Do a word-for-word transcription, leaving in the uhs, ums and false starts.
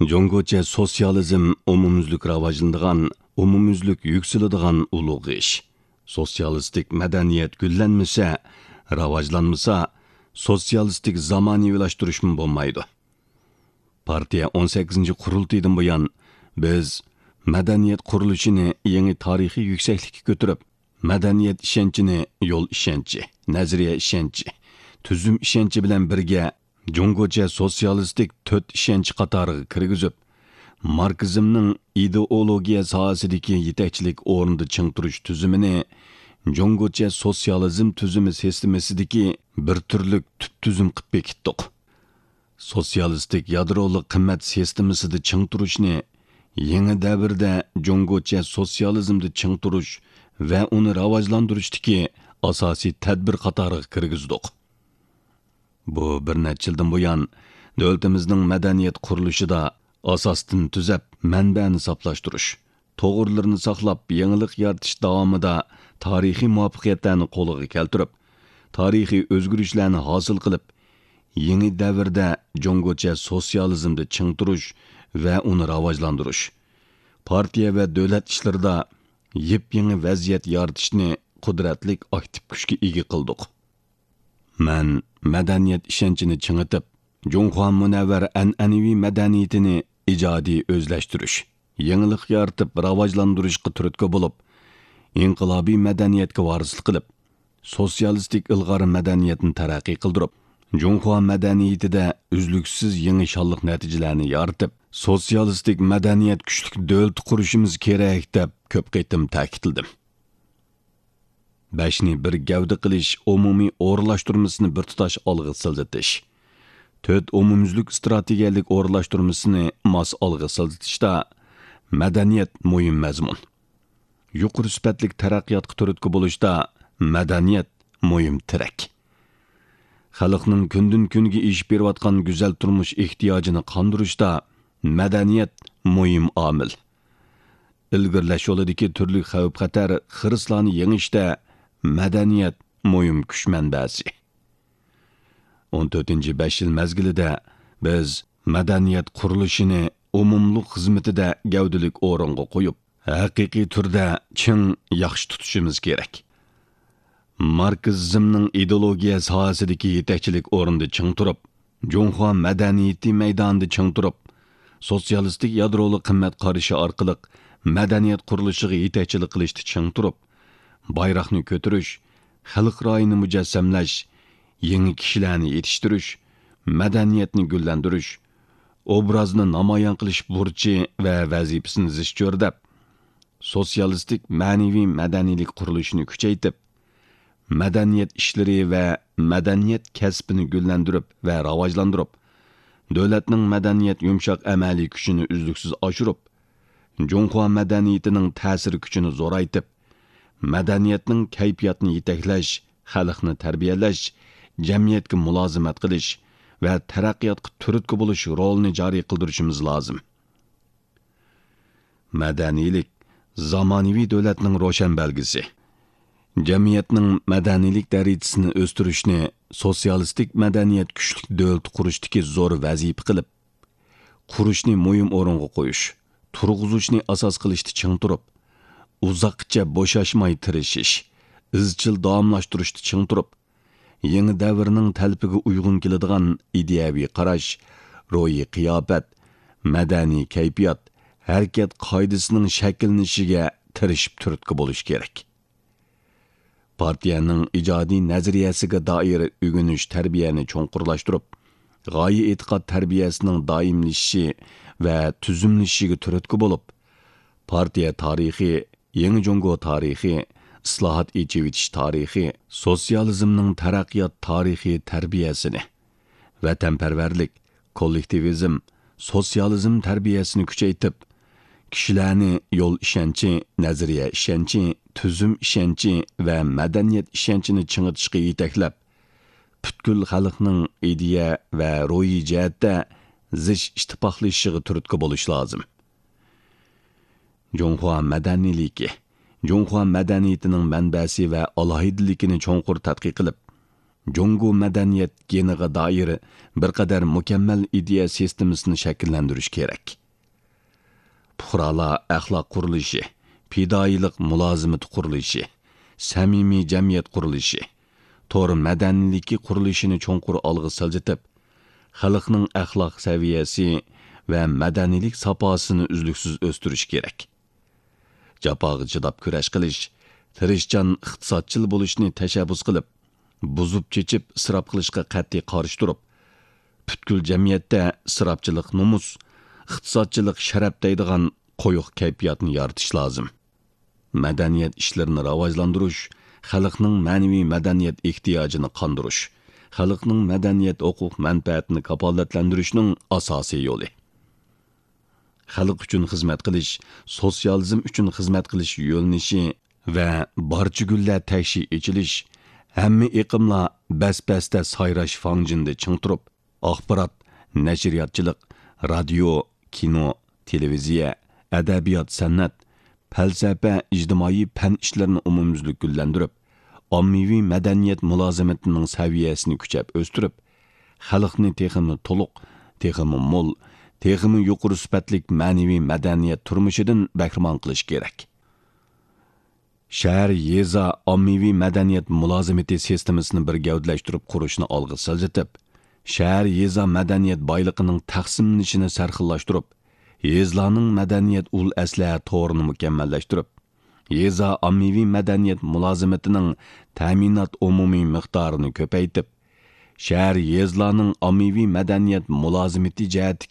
جۇڭگوچە سوتسىيالىزم ئومۇميۈزلۈك راۋاجلىنىدىغان، ئومۇميۈزلۈك يۈكسىلىدىغان ئۇلۇغ ئىش. سوتسىيالىستىك مەدەنىيەت گۈللەنمىسە، راۋاجلانمىسا، سوتسىيالىستىك زامانىۋىلاشتۇرۇشمۇ بولمايدۇ. پارتىيە ئون سەككىزىنچى قۇرۇلتىيىدىن بۇيان، بىز مەدەنىيەت قۇرۇلۇشىنى يېڭى تارىخىي يۈكسەكلىككە كۆتۈرۈپ، مەدەنىيەت ئىشەنچىنى يول ئىشەنچى، نەزەرىيە ئىشەنچى، تۈزۈم ئىشەنچى بىلەن بىرگە جۇڭگوچە سوتسىيالىستىك تۆت ئىشەنچ قاتارىغا كىرگۈزۈپ، ماركسىزمنىڭ ئىدېئولوگىيە ساھەسىدىكى يېتەكچىلىك ئورنىدا چىڭ تۇرۇش تۈزۈمىنى جۇڭگوچە سوتسىيالىزم تۈزۈمى سىستېمىسىدىكى بىر تۈرلۈك تۈپ تۈزۈم قىلىپ بېكىتتۇق. سوتسىيالىستىك يادرولۇق قىممەت سىستېمىسىدا چىڭ تۇرۇشنى يېڭى دەۋردە جۇڭگوچە سوتسىيالىزمدا چىڭ تۇرۇش ۋە ئۇنى راۋاجلاندۇرۇشتىكى ئاساسىي تەدبىر قاتارىغا كىرگۈزدۇق. بۇ بىر نەچچە يىلدىن بۇيان، دۆلىتىمىزنىڭ مەدەنىيەت قۇرۇلۇشىدا ئاساستىن تۈزەپ، مەنبەنى ساپلاشتۇرۇش، توغرىلىرىنى ساقلاپ، يېڭىلىق يارىتىش داۋامىدا تارىخىي مۇۋەپپەقىيەتلەرنى قولغا كەلتۈرۈپ، تارىخىي ئۆزگىرىشلەرنى ھاسىل قىلىپ، يېڭى دەۋردە جۇڭگوچە سوتسىيالىزمدا چىڭ تۇرۇش ۋە ئۇنى راۋاجلاندۇرۇش، پارتىيە ۋە دۆلەت ئىشلىرىدا يېپيېڭى ۋەزىيەت يارىتىشنى قۇدرەتلىك ئاكتىپ كۈچكە ئىگە قىلدۇق. مەن مەدەنىيەت ئىشەنچىنى چىڭىتىپ، جۇڭخۇا مۇنەۋۋەر ئەنئەنىۋى مەدەنىيىتىنى ئىجادىي ئۆزلەشتۈرۈش، يېڭىلىق يارىتىپ راۋاجلاندۇرۇشقا تۈرتكە بولۇپ، ئىنقىلابىي مەدەنىيەتكە ۋارىسلىق قىلىپ، سوتسىيالىستىك ئىلغار مەدەنىيەتنى تەرەققىي قىلدۇرۇپ، جۇڭخۇا مەدەنىيىتىدە ئۈزلۈكسىز يېڭى شانلىق نەتىجىلەرنى يارىتىپ، سوتسىيالىستىك مەدەنىيەت كۈچلۈك دۆلىتى قۇرۇشىمىز كېرەك، دەپ كۆپ قېتىم تەكىتلىدىم. بەشنى بىر گەۋدە قىلىش ئومۇمىي ئورۇنلاشتۇرمىسىنى بىر تۇتاش ئالغا سىلجىتىش، تۆت ئومۇميۈزلۈك ئىستراتېگىيەلىك ئورۇنلاشتۇرمىسىنى ماس ئالغا سىلجىتىشتا مەدەنىيەت مۇھىم مەزمۇن. يۇقىرى سۈپەتلىك تەرەققىياتقا تۈرتكە بولۇشتا مەدەنىيەت مۇھىم تىرەك. خەلقنىڭ كۈندىن-كۈنگە ئېشىپ بېرىۋاتقان گۈزەل تۇرمۇش ئېھتىياجىنى قاندۇرۇشتا مەدەنىيەت مۇھىم ئامىل. ئىلگىرىلەش يولىدىكى تۈرلۈك خەۋپ-خەتەر، خىرىسلارنى يېڭىشتە مەدەنىيەت مۇھىم كۈچ مەنبەسى. ئون تۆتىنچى بەش يىل مەزگىلىدە بىز مەدەنىيەت قۇرۇلۇشىنى ئومۇملۇق خىزمىتىدە گەۋدىلىك ئورۇنغا قويۇپ، ھەقىقىي تۈردە چىڭ، ياخشى تۇتۇشىمىز كېرەك. ماركسىزمنىڭ ئىدېئولوگىيە ساھەسىدىكى يېتەكچىلىك ئورنىدا چىڭ تۇرۇپ، جۇڭخۇا مەدەنىيىتى مەيدانىدا چىڭ تۇرۇپ، سوتسىيالىستىك يادرولۇق قىممەت قارىشى ئارقىلىق مەدەنىيەت قۇرۇلۇشىغا يېتەكچىلىك قىلىشتا چىڭ تۇرۇپ، بايراقنى كۆتۈرۈش، خەلق رايىنى مۇجەسسەملەش، يېڭى كىشىلەرنى يېتىشتۈرۈش، مەدەنىيەتنى گۈللەندۈرۈش، ئوبرازنى نامايان قىلىش بۇرچى ۋە ۋەزىپىسىنى زىچ چۆرىدەپ، سوتسىيالىستىك مەنىۋى مەدەنىيلىك قۇرۇلۇشىنى كۈچەيتىپ، مەدەنىيەت ئىشلىرى ۋە مەدەنىيەت كەسپىنى گۈللەندۈرۈپ ۋە راۋاجلاندۇرۇپ، دۆلەتنىڭ مەدەنىيەت يۇمشاق ئەمەلىي كۈچىنى ئۈزلۈكسىز ئاشۇرۇپ، جۇڭخۇا مەدەنىيىتىنىڭ تەسىر كۈچىنى زورايتىپ، مەدەنىيەتنىڭ كەيپىياتنى يېتەكلەش، خەلقنى تەربىيەلەش، جەمئىيەتكە مۇلازىمەت قىلىش ۋە تەرەققىياتقا تۈرتكە بولۇش رولىنى جارى قىلدۇرۇشىمىز لازىم. مەدەنىيلىك، زامانىۋى دۆلەتنىڭ روشەن بەلگىسى. جەمئىيەتنىڭ مەدەنىيلىك دەرىجىسىنى ئۆستۈرۈشنى سوتسىيالىستىك مەدەنىيەت كۈچلۈك دۆلىتى قۇرۇشتىكى زور ۋەزىپە قىلىپ، قۇرۇشنى مۇھىم ئورۇنغا قويۇش، تۇرغۇزۇشنى ئاساس قىلىشتا چىڭ تۇرۇپ، ئۇزاققىچە بوشاشماي تىرىشىش، ئىزچىل داۋاملاشتۇرۇشتا چىڭ تۇرۇپ، يېڭى دەۋرنىڭ تەلىپىگە ئۇيغۇن كېلىدىغان ئىدىيەۋى قاراش، روھىي قىياپەت، مەدەنىي كەيپىيات، ھەرىكەت قائىدىسىنىڭ شەكىللىنىشىگە تىرىشىپ تۈرتكە بولۇش كېرەك. پارتىيەنىڭ ئىجادىي نەزەرىيەسىگە دائىر ئۆگىنىش تەربىيەنى چوڭقۇرلاشتۇرۇپ، غايە ئېتىقاد تەربىيەسىنىڭ دائىملىشىشى ۋە تۈزۈملىشىشىگە تۈرتكە بولۇپ، پارتىيە تارىخى، يېڭى جۇڭگو تارىخى، ئىسلاھات، ئېچىۋېتىش تارىخى، سوتسىيالىزمنىڭ تەرەققىيات تارىخىي تەربىيەسىنى، ۋەتەنپەرۋەرلىك، كوللېكتىۋىزم، سوتسىيالىزم تەربىيەسىنى كۈچەيتىپ، كىشىلەرنى يول ئىشەنچى، نەزەرىيە ئىشەنچى، تۈزۈم ئىشەنچى ۋە مەدەنىيەت ئىشەنچىنى چىڭىتىشقا يېتەكلەپ، پۈتكۈل خەلقنىڭ ئىدىيە ۋە روھىي جەھەتتە زىچ ئىتتىپاقلىشىشىغا تۈرتكە بولۇش لازىم. جۇڭخۇا مەدەنىيلىكى، جۇڭخۇا مەدەنىيىتىنىڭ مەنبەسى ۋە ئالاھىدىلىكىنى چوڭقۇر تەتقىق قىلىپ، جۇڭگو مەدەنىيەت گېنىغا دائىر بىر قەدەر مۇكەممەل ئىدىيە سىستېمىسىنى شەكىللەندۈرۈش كېرەك. پۇقرالار ئەخلاق قۇرۇلۇشى، پىدائىيلىق مۇلازىمىتى قۇرۇلۇشى، سەمىمىي جەمئىيەت قۇرۇلۇشى، تور مەدەنىيلىكى قۇرۇلۇشىنى چوڭقۇر ئالغا سىلجىتىپ، خەلقنىڭ ئەخلاق سەۋىيەسى ۋە مەدەنىيلىك ساپاسىنى ئۈزلۈكسىز ئۆستۈرۈش كېرەك. جاپاغا چىداپ كۈرەش قىلىش، تىرىشچان ئىقتىسادچىل بولۇشنى تەشەببۇس قىلىپ، بۇزۇپ چېچىپ ئىسراپ قىلىشقا قەتئىي قارشى تۇرۇپ، پۈتكۈل جەمئىيەتتە ئىسراپچىلىق نومۇس، ئىقتىسادچىلىق شەرەپ دەيدىغان قويۇق كەيپىياتنى يارىتىش لازىم. مەدەنىيەت ئىشلىرىنى راۋاجلاندۇرۇش، خەلقنىڭ مەنىۋى مەدەنىيەت ئېھتىياجىنى قاندۇرۇش، خەلقنىڭ مەدەنىيەت ھوقۇق مەنپەئەتىنى كاپالەتلەندۈرۈشنىڭ ئاساسىي يولى. خەلق ئۈچۈن خىزمەت قىلىش، سوتسىيالىزم ئۈچۈن خىزمەت قىلىش يۆنىلىشى ۋە بارچە گۈللەر تەكشى ئېچىلىش، ھەممە ئېقىملار بەس-بەستە سايراش فاڭجېنىدا چىڭ تۇرۇپ، ئاخبارات، نەشرىياتچىلىق، رادىيو، كىنو، تېلېۋىزىيە، ئەدەبىيات، سەنئەت، پەلسەپە، ئىجتىمائىي پەن ئىشلىرىنى ئومۇميۈزلۈك گۈللەندۈرۈپ، ئاممىۋى مەدەنىيەت مۇلازىمىتىنىڭ سەۋىيەسىنى كۈچەپ ئۆستۈرۈپ، خەلقنى تېخىمۇ تولۇق، تېخىمۇ مول، تېخىمۇ يۇقىرى سۈپەتلىك مەنىۋى مەدەنىيەت تۇرمۇشىدىن بەھرىمەن قىلىش كېرەك. شەھەر، يېزا ئاممىۋى مەدەنىيەت مۇلازىمىتى سىستېمىسىنى بىر گەۋدىلەشتۈرۈپ قۇرۇشنى ئالغا سىلجىتىپ، شەھەر، يېزا مەدەنىيەت بايلىقىنىڭ تەقسىملىنىشىنى سەرخىللاشتۇرۇپ، يېزىلارنىڭ مەدەنىيەت ئۇل ئەسلىھە تورىنى مۇكەممەللەشتۈرۈپ، يېزا ئاممىۋى مەدەنىيەت مۇلازىمىتىنىڭ تەمىنات ئومۇمىي مىقدارىنى كۆپەيتىپ، شەھەر، يېزىلارنىڭ ئاممىۋى مەدەنىيەت مۇلازىمىتى جەھەتتىكى